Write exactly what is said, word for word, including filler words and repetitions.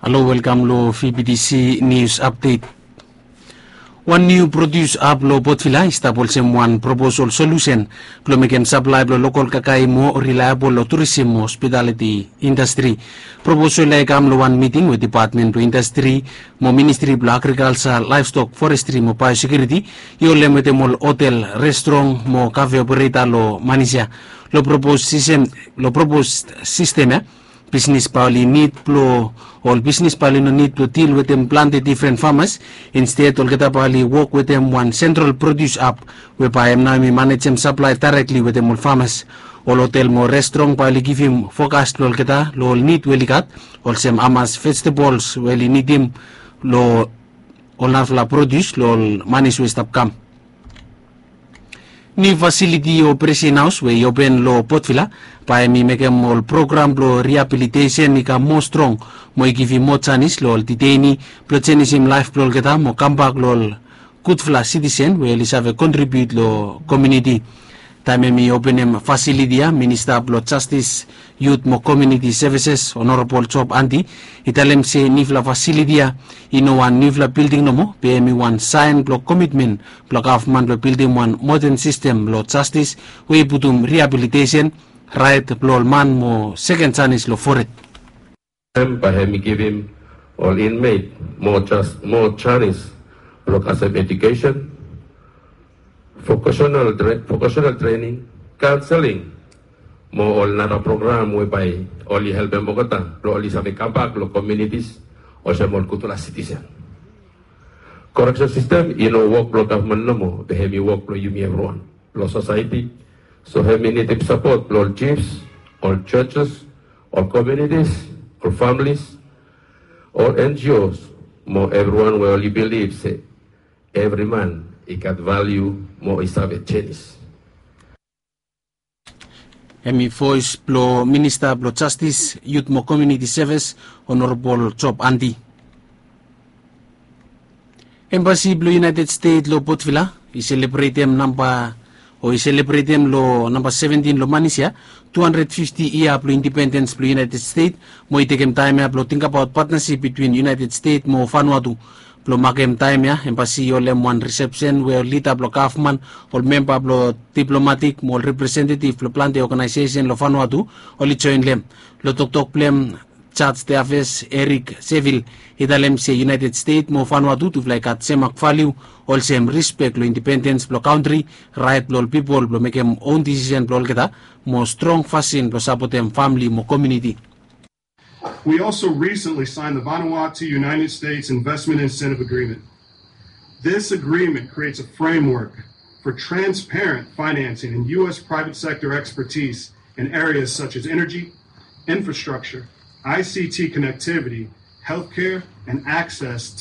Halo, welkam long V B T C News Update. Wan niu produs ap long Port Vila i stap olsem wan proposal solusen blong mekem saplae blong lokal kakae i moa rilaebol long turisim mo hospitaliti indastri. Proposal ya i kam long wan miting we Dipatmen blong Indastri mo Ministri blong Agrikalsa, Laevstok, Forestri mo Baeosekiuriti i holem wetem ol hotel, restrong mo kafe opereta long Manis ya. Long propos sistem ya, bisnis bae oli nid blong ol bisnis bae oli no nid blong dil wetem plante difren famas. Insted olgeta bae oli wok wetem wan sentral produs ap we bae hem nao hem i manejem saplae daerekli wetem ol famas. Ol hotel mo restrong bae oli givim fokas long olgeta long ol nid we oli gat, olsem hamas vejetabols we oli nidim long ol narafala produs long ol Manis we i stap kam. Niu fasiliti o Presen Haos we i open long Port Vila bae hem i mekem ol program blong riabilitesen i kam moa strong mo i givim moa janis long ol diteini blong jenisim laef blong olgeta mo kambak long ol gudfala sitisen we oli save kontribiut long komuniti. Taem hem i openem fasiliti ya, Minista blong Jastis, Yut mo Komuniti Sevises, Honorabol Job Andi, i talem se niufala fasiliti ya i no wan niufala bilding nomo, be hem i wan saen blong komitmen blong gavman blong bildim wan moden sistem blong jastis we i putum riabilitesen, raet blong ol man mo seken janis long fored. Hem bae hem i givim ol inmet moa janis blong kasem edukesen, vokasenal trening, kaonseling mo ol nara program we bae oli helpem olgeta blong oli save kambak long komunitis olsem ol gudfala sitisen. Koreksen sistem i no wok blong gavman nomo, be hem i wok blong yumi evriwan long sosaeti. So hem i nidim sapot blong ol jifs, ol jojes, ol komunitis, ol familis, ol N G Os mo evriwan we oli bilif se evri man i gat valiu mo i save jenis. Hem i voes blong Minista blong Jastis, Yut mo Komuniti Sevis, Honorabol Job Andi. Embasi blong United State long Port Vila i selebretem namba o i selebretem long namba seventin long Manis ya tu handred fifti yia blong indipendens blong United State, mo i tekem taem ya blong tingbaot patnasip bitwin United State mo Vanuatu. Blong makem taem ya, embasi i holem wan risepsen we ol lida blong gavman, ol memba blong diplomatik mo ol representetif blong plante oganaesesen long Vanuatu oli joen long hem. Long toktok blong hem, Jaj Teafes Erik Sevil i talem se United State mo Vanuatu tufala i gat semak valiu olsem rispek long indipendens blong kantri, raet blong ol pipol blong mekem own disisen blong olgeta, mo strong fasin blong sapotem famle mo komuniti. We also recently signed the Vanuatu United States Investment Incentive Agreement. This agreement creates a framework for transparent financing and U S private sector expertise in areas such as energy, infrastructure, I C T connectivity, healthcare, and access